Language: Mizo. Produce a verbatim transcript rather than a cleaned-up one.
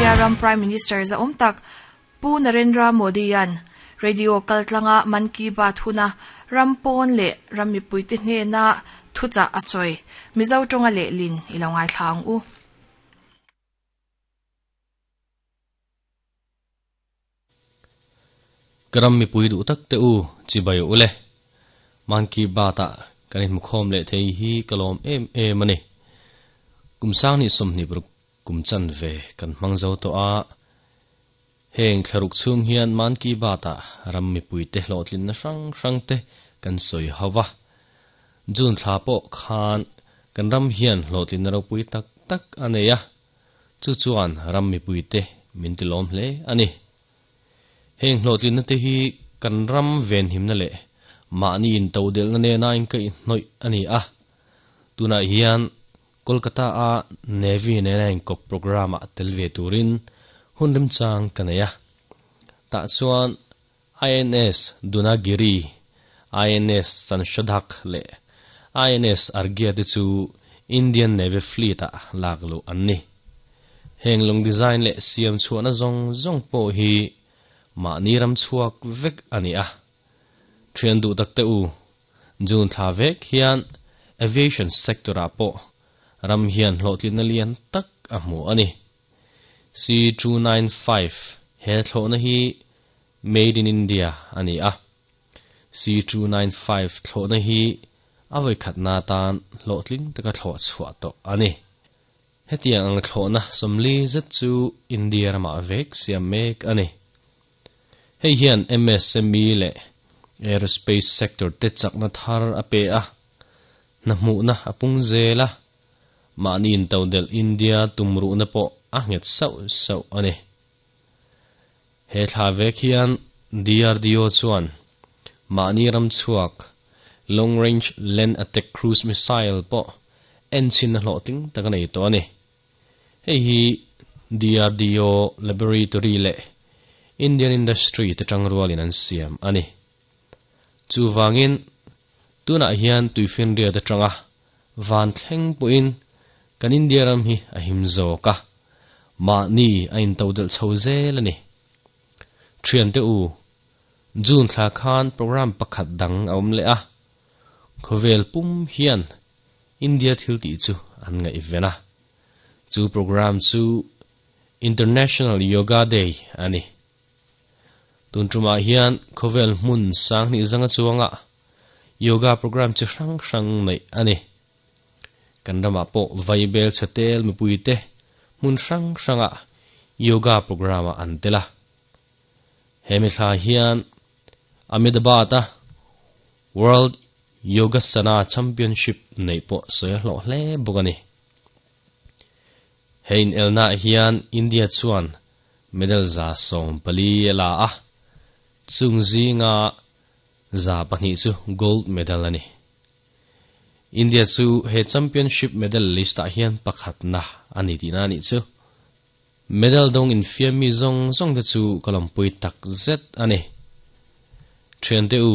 India ram Prime Minister za awm tak Pu Narendra Modi-an radio kaltlanga Man Ki Baat huna ram pawn leh ram mipuite hnena thuchah a sawi Mizo tawnga lehlin i lo ngaithla ang u. Ka ram mipui duh tak te u chibai ule Man Ki Baat-a kan inhmukhawm leh thei hi ka lawm em em a ni. Kum sang ni sawmhnih paruk kum chan ve kan hmang zo tawh a, heng thlaruk chhung hian Man Ki Baat-a ram mipuite hlawhtlinna hrang hrang te kan sawi ho va. June thla pawh khan kan ram hian hlawhtlinna ropui tak tak a nei a, chu chuan ram mipuite min tilawm hle a ni. Heng hlawhtlinna te hi kan ram venhimna leh mahni intodelhna nena inkaihhnawih a ni a. Tunah hian Kolkata a Navy nena inkawp programme ah tel ve turin hun remchang ka nei a. Tah chuan I N S Dunagiri, I N S Sanshodhak leh I N S Arghya te chu Indian Navy Fleet ah lak luh an ni. Heng lung design leh siam chhuahna zawng zawng pawh hi mahni ram chhuak vek a ni a. Thian duh tak te u, June thla vek hian aviation sector ah pawh ram hian hlawhtlinna lian tak a hmu a ni. C two nine five he thlawhna hi Made in India a ni a. C two nine five thlawhna hi a vawikhatna atan hlawhtling taka thlawh chhuah tawh a ni. Hetiang ang thlawhna sawmli zet chu India ramah vek siam mek a ni. Hei hian M S M E leh aerospace sector te chakna thar a pe a, hna hmuhna a pung zel a, mahni intodelh India tumruhna pawh a nghet sauh sauh a ni. He thla vek hian D R D O chuan mahni ram chhuak Long Range Land Attack Cruise Missile pawh en chhin a hlawhtling tak a nei tawh a ni. Hei hi D R D O Laboratory leh Indian Industry te tang rualin an siam a ni. Chuvangin tunah hian tuifinria te tanga van thleng pawhin kan India ram hi a him zawk a, mahni a intodelh chho zel a ni. Thian te u, June thla khan program pakhat dang a awm leh a, khawvel pum hian India thil tih chu an ngaihven a. Chu program chu International Yoga Day a ni. Tun tumah hian khawvel hmun sang hnih zanga chuanga yoga program chi hrang hrang nei a ni. Kan ramah pawh vaibel chhetel mipuite hmun hrang hranga yoga program a an tel a. Hemi thla hian Ahmedabad a World Yogasana Championship nei pawh sawi a hlawh hle bawk a ni. He inelna hian India chuan medal za sawm pali a la a, chung zinga za pahnih chu gold medal a ni. India chu he championship medal list ah hian pakhatna a ni tihna a nih chu. Medal dawng infiam mi zawng zawng te chu ka lawmpui tak zet a ni. Thian te u,